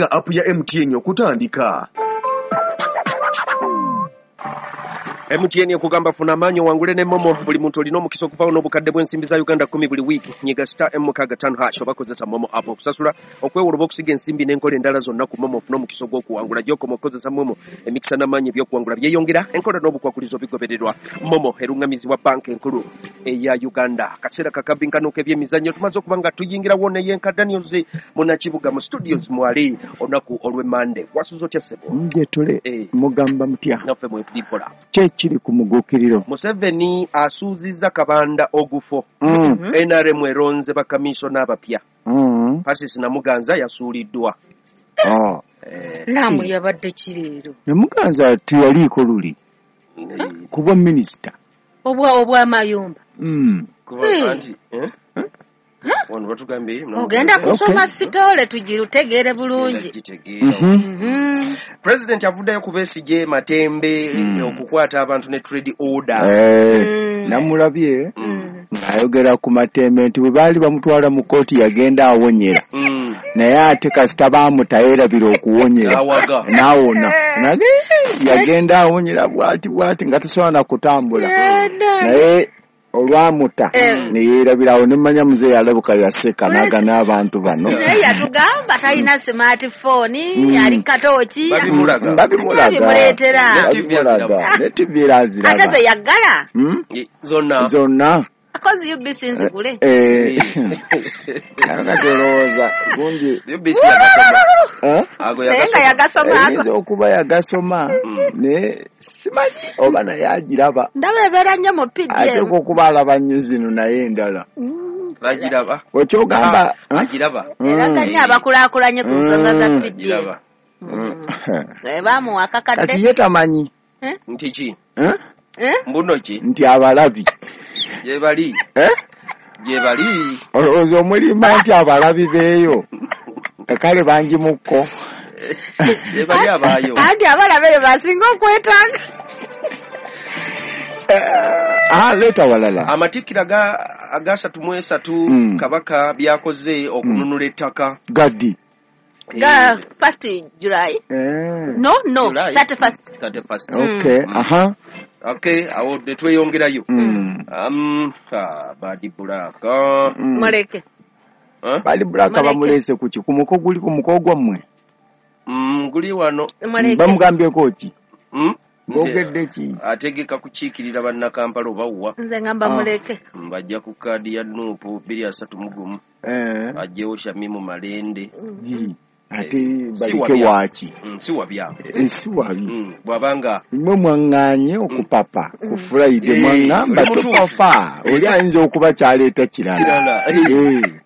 Downloadinga app ya MTN okutandika. MTN ekugamba funa amaanyi owangule ne Momo. Buli muntu olina omukisa okuvaawo n'obukadde bw'ensimbi za Uganda 10 buli wiiki. Nyiga star M65# oba kozesa Momo app okusasula, okwewula oba okusiga ensimbi n'enkola endala zonna ku Momo ofune omukisa ogw'okuwangula. Gy'okoma okukozesa Momo, emikisa n'amaanyi eby'okuwangula byeyongera, enkola n'obukwakulizo bigobererwa. Momo eruŋŋamizibwa Banka Enkulu eya Uganda. Akaseera kakabinkano k'ebyemizannyo tumaze okuba nga tuyingirawo ne Yenka Daniels munnakibuga mu studios mwali olunaku olw'Emmande. Wasuze otya ssebo? Nje tule mugamba mutya? Naffe mwetuli mpola. Ki ekiri ku muguukiriro? Museveni asuuzizza Kabanda ogufo. NRM eronze bakamisona abapya. Pasis Namuganza yasuuliddwa. Naamu yabadde kireero. Namuganza teyaliiko luli kubwa minisita. Obw'amayumba. Ogenda kusoma sitole tugirutegeere bulungi. President avuddeyo ku Besigye Matembe okukwata abantu ne trade order. Namulabye ng'ayogera ku Matembe nti bwe baali bamutwala mu kkooti yagenda awonyera. Naye ate kasita baamuta yeerabira okuwonyera. N'awona. Yagenda awonyera bw'ati bw'ati nga tasobola na kutambula. Naye olwamuta ne yeerabirawo ne mmanya muzeeyi alabuka yaseka n'aga n'abantu bano. Naye yatugamba talina smartphone, ali katooki. Babimulaga. Babimuleetera. Ne TV era aziraba. Ate ze yaggala. Zonna. Akozi UBC nzigule. Kakati olowooza gundi UBC yagasoma. Naye nga yagasoma. Ayinza okuba yagasoma naye simanyi oba naye agiraba. Ndaba ebeera nnyo mu PDM. Ateekwa okuba alaba nnyo zino naye endala. Agiraba. Okyogamba agiraba. Eraga nnyo abakulaakulanye ku nsonga za PDM. Baamuwa akakadde. Kati ye tamanyi. Nti ki? Mbuno ki? Nti abalabi. Gyebali. Gyebali. Olowooza omulimba nti abalabi beeyo. Kale bangi mukko. Gyebali abaayo. Anti abalabi eyo basinga okwetaaga. Leeta walala. Amatikkira aga 33 Kabaka byakoze okununula ettaka. Gaddi. Ga 1st July. No, 31st. 31st. Okay, aha. Okay, awo tetweyongerayo. Badi Black. Muleke. Badi Black bamulese ku ki? Ku muko guli ku muko gwammwe? Guli wano. Bamugambyeko ki? Boogedde ki? Ategeka kukiikirira bannakampala oba wa? Nze ngamba muleke. Bajja ku kaadi ya Nuupu 231. Ajjewo Shamimu Malende. Ate balike waaki? Si wabyabwe. Si wabi. Bw'abanga mmwe mwaŋŋaanye okupapa ku Friday mwaŋŋamba topapa. Oli ayinza okuba kyaleeta kirala.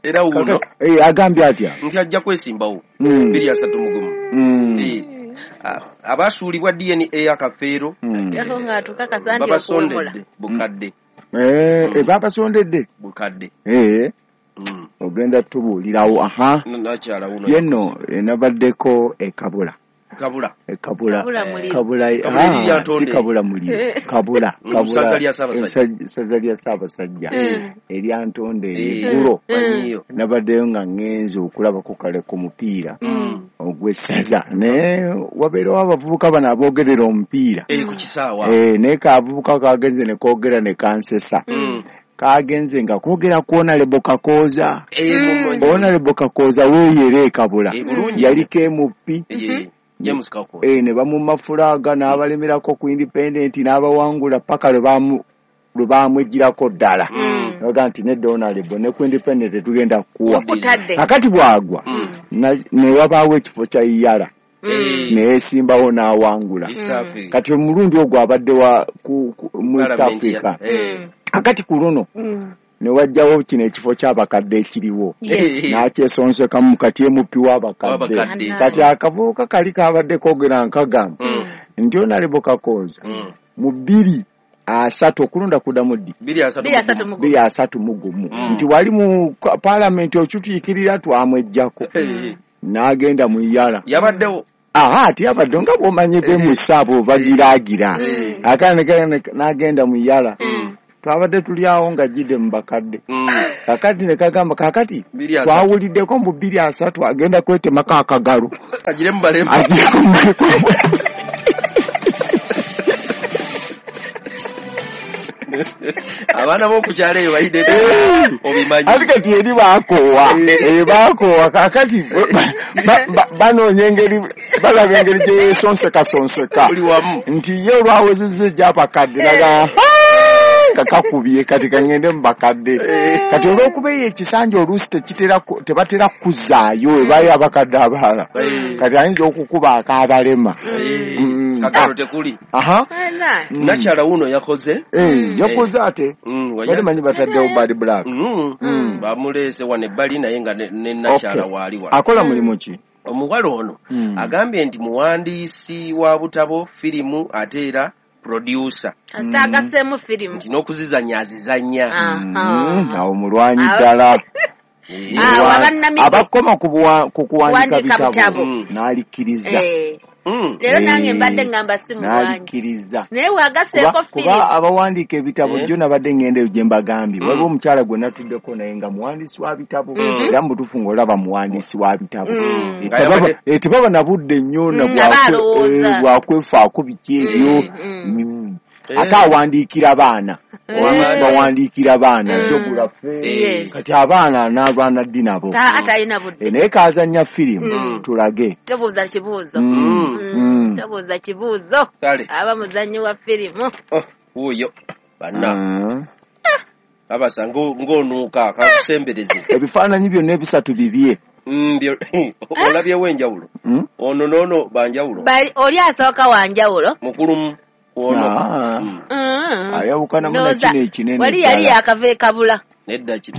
Era wuno. Agambye atya? Nti ajja kwesimbawo 231. Abasuulibwa DNA akafeero. Babasondedde bukadde. Babasondedde? Bukadde. Ogenda tubuulirawo. Aha. Yenno nabaddeko e Kabula. Kabula. Kabula. Kabula. Si Kabula muliro. Kabula. Ssaza lya Ssaabasajja. Ssaza lya Ssaabasajja. Erya Ntonde eggulo. Nabaddeyo nga ŋŋenze okulabako kale ku mupiira ogw'essaza. Naye wabeerawo abavubuka bano aboogerera omupiira. Ku kisaawa. Naye kavubuka kagenze ne koogera ne kansesa. Kagenze nga kwogera ku Honorable Kakooza. Honorable Kakooza weeyera e Kabula. Yaliko MP. James Kakooza. Ne bamumma fulaaga n'abalemerako ku independent n'abawangula paka lwe baamweggyirako ddala. Baga nti nedda Honorable ne ku independent tetugenda kukuwa. Kakati bw'agwa ne wabaawo ekifo kya Iyala. Neyesimbawo n'awangula. Kati omulundi ogwo abadde wa mu East Africa. Akati ku luno ne wajjawo kino ekifo ky'abakadde ekiriwo n'akyesonsekamu kati MP w'abakadde. Kati akavubuka kali kabadde koogera nkagamba nti Honorable Kakooza mu 230 okulonda kuddamu ddi? 231 nti wali mu paalamenti okituukirira twamweggyako n'agenda mu Iyala. Yabaddewo. Aha, ati yabadde nga bw'omanyi be mu ssaabo bagiraagira. Akaana n'agenda mu Iyala. Twabadde tuli awo nga jjidde mu bakadde. Kakati ne kagamba kakati twawuliddeko mu 2030 agenda kwetemako akagalo. Agire mu balema. Abaana b'oku kyalo eyo bayidde obimanyi. Ate kati eri baakoowa. Baakoowa kakati banoonya engeri balaba engeri gye yeesonsekasonseka. Buli wamu. Nti ye olwawezezza egy'abakadde naga nga kakubye kati kangende mu bakadde. Kati olw'okuba eyo ekisanja oluusi tebatera kuzzaayo ebaayo abakadde abalala. Kati ayinza okukuba ak'abalema. Kakalo tekuli. Nakyala wuno yakoze. Yakoze ate. Bali manyi bataddewo Bad Black. Bamuleese wano ebbali naye nga ne nakyala waali wano. Akola mulimu ki? Omuwala ono agambye nti muwandiisi wa butabo, firimu ate era producer. Asitaagaseemu firimu. Nti n'okuzizannya azizannya. Awo mulwanyi ddala. Abakoma ku kuwandiika bitabo n'alikkiriza. Leero nange mbadde ngamba si mulwanyi. N'alikkiriza. Naye wagaseeko firimu. Kuba abawandiika ebitabo jjo nabadde ngenda eyo gye mbagambye. Waliwo omukyala gwe natuddeko naye nga muwandiisi wa bitabo. Era mu butuufu ng'olaba muwandiisi wa bitabo. Tebaba na budde nnyo na bwakwefaako biki ebyo. Ate awandiikira baana. Oluusi bawandiikira baana geography. Kati abaana n'abaana ddi nabo. Atalina budde. Naye kaazannya firimu tulage. Tobuuza kibuuzo. Tobuuza kibuuzo. Aba muzannyi wa firimu. Wuuyo banna. Abasa ng'onuuka kakusembereze. Ebifaananyi byonna ebisatu bibye. Olabyewo enjawulo. Ono n'ono banjawulo. Oli asooka wanjawulo. Mukulumu. Ayawukana muna kino ekinene. Wali yali yakava ekabula. Nedda kino.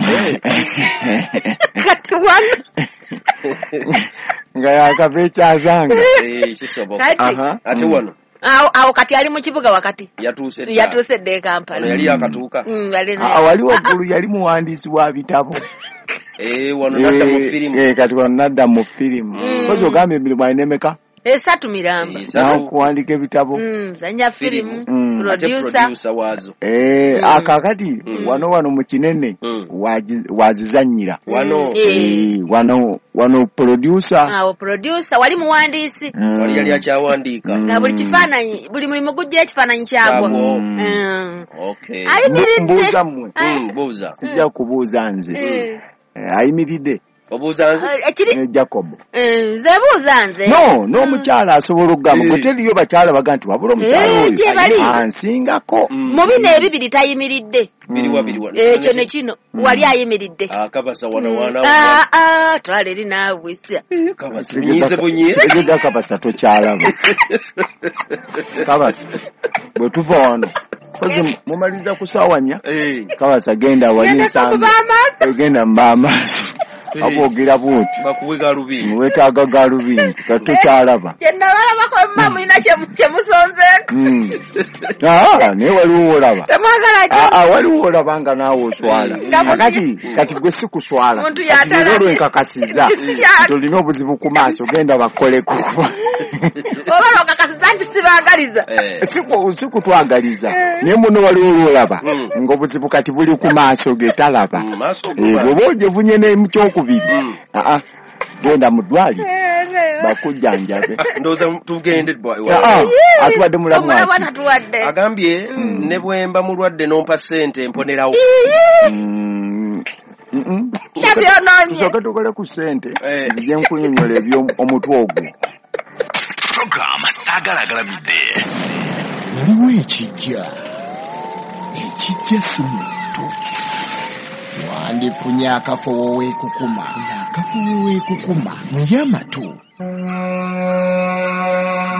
Kati wano. Nga yakava ekyazanga. Kisoboka. Ate wano. Awo kati ali mu kibuga wakati. Yatuuse dda e Kampala. Yali yakatuuka. Wali waggulu yali muwandiisi wa bitabo. Wano nadda mu firimu. Kati wano nadda mu firimu. Kozi ogamba emirimu alina emeka? Esatu miramba. Okuwandiika ebitabo. Zanya firimu. Producer waazo. Akakati wano mu kinene wazizannyira. Wano. Wano producer. Awo producer wali muwandiisi. Wali yali akyawandiika. Nga buli kifaananyi buli mulimu gujja ekifaananyi kyagwo. Okay. Ayimiridde. Mbuuza mmwe. Mbuuza. Sijja kubuuza nze. Ayimiridde. Obuuza nze? Ne Jacob. Nze buuza nze. No, n'omukyala asobola okugamba. Gwe teriyo bakyala baga nti wabula omukyala oyo ansingako. Mu bino ebibiri tayimiridde. Biriwa. Ekyo ne kino wali ayimiridde. Kabasa wana. Twala eri naawe sya. Kabasa nyize bunyize. Tegeza kabasa tokyalaba. Kabasa bwe tuva wano. Kozi mumaliza ku ssaawa 4. Kabasa genda wali nsambi. Genda mba amaaso. Aboogera bw'oti. Bakuwe galubindi. Weetaaga galubindi. Katokyalaba. Kye nabalabako mma mulina kye musonzeeko. Naye waliwo olaba. Temwagala ki? Waliwo olaba nga naawe oswala. Kati gwe si kuswala. Kati leero lwenkakasizza nti olina obuzibu ku maaso genda bakoleko. Oba lwokakasizza nti sibaagaliza. Si kutwagaliza. Naye muno waliwo lwolaba ng'obuzibu kati buli ku maaso ge talaba. Bw'oba ogyevunye ne mu kyokubiri. Genda mu ddwaliro bakujjanjabe. Ndowooza tugende. Atuwadde mulamu. Agambye ne bwemba mulwadde n'ompa ssente mponerawo. Tusooke tukole ku ssente nzije nkunyonnyola eby'omutwe ogwo. Program Saagala Agalamidde. Waliwo ekijja. Ekijja si muntu. Wandifunye akafo woweekukuma. Akafo woweekukuma naye amatu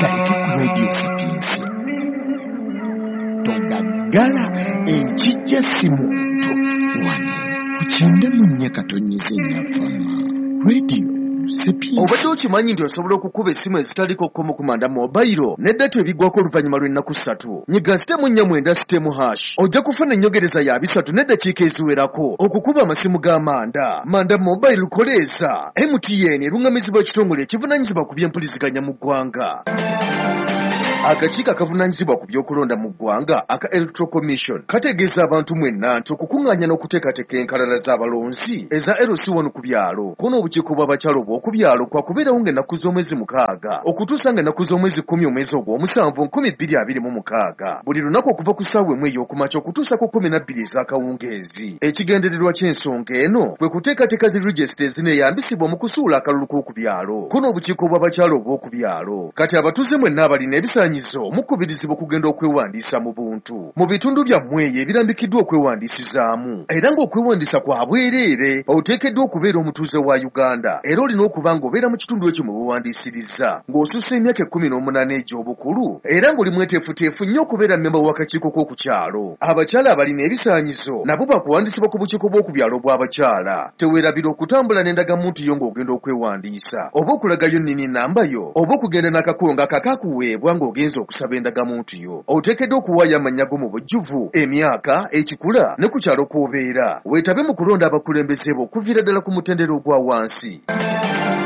galeke ku Radio Sapiensia. Togaggala ekijja si muntu. Wano ku 94 Nyafama Radio Sapiensia. Obadde okimanyi nti osobola okukuba essimu ezitaliko kkomo ku manda mobayiro ne data ebiggwako oluvannyuma lw'ennaku 3. Nyiga *496#. Ojja kufuna ennyogereza ya 3 n'eddakiika eziwerako okukuba amasimu ga manda. Manda mobayiro koleeza. MTN eruŋŋamizibwa ekitongole ekivunaanyizibwa ku by'empuliziganya mu ggwanga. Akakiiko akavunaanyizibwa ku by'okulonda mu ggwanga aka Electoral Commission kategeeza abantu mwenna nti okukuŋŋaanya n'okuteekateeka enkalala z'abalonzi eza LC1 ku byalo ko n'obukiiko bw'abakyala obw'oku byalo kwakubeerawo ng'ennaku z'omwezi 6 okutuusa ng'ennaku z'omwezi 10 omwezi ogw'omusanvu 2026 buli lunaku okuva ku ssaawa 1 ey'okumakya okutuusa ku 12 ez'akawungeezi. Ekigendererwa ky'ensonga eno kwe kuteekateeka zi regisita ezineeyambisibwa mu kusuula akalulu k'oku byalo ko n'obukiiko bw'abakyala obw'oku byalo. Kati abatuuze mwenna abalina ebisaanyizo mukubirizibwa okugenda okwewandiisa mu buntu mu bitundu byammwe eyo ebirambikiddwa okwewandiisizaamu, era ng'okwewandiisa kwa bwereere. Oteekeddwa okubeera omutuuze wa Uganda era olina okuba ng'obeera mu kitundu ekyo mwe weewandiisirizza, ng'osussa emyaka 18 egy'obukulu era ng'oli mweteefuteefu nnyo okubeera mmemba w'akakiiko k'oku kyalo. Abakyala abalina ebisaanyizo nabo bakuwandiisibwa ku bukiiko bw'oku byalo obw'abakyala. Teweerabira okutambula n'endagamuntu yo ng'ogenda okwewandiisa, oba okulagayo nnini nnamba yo, oba okugenda n'akakongo akakakuweebwa ng'ogenze okusaba endagamuntu yo. Oteekeddwa okuwaayo amannya go mu bujjuvu, emyaka, ekikula ne ku kyalo kw'obeera. Weetabe mu kulonda abakulembeze bo okuviira ddala ku mutendera ogwa wansi.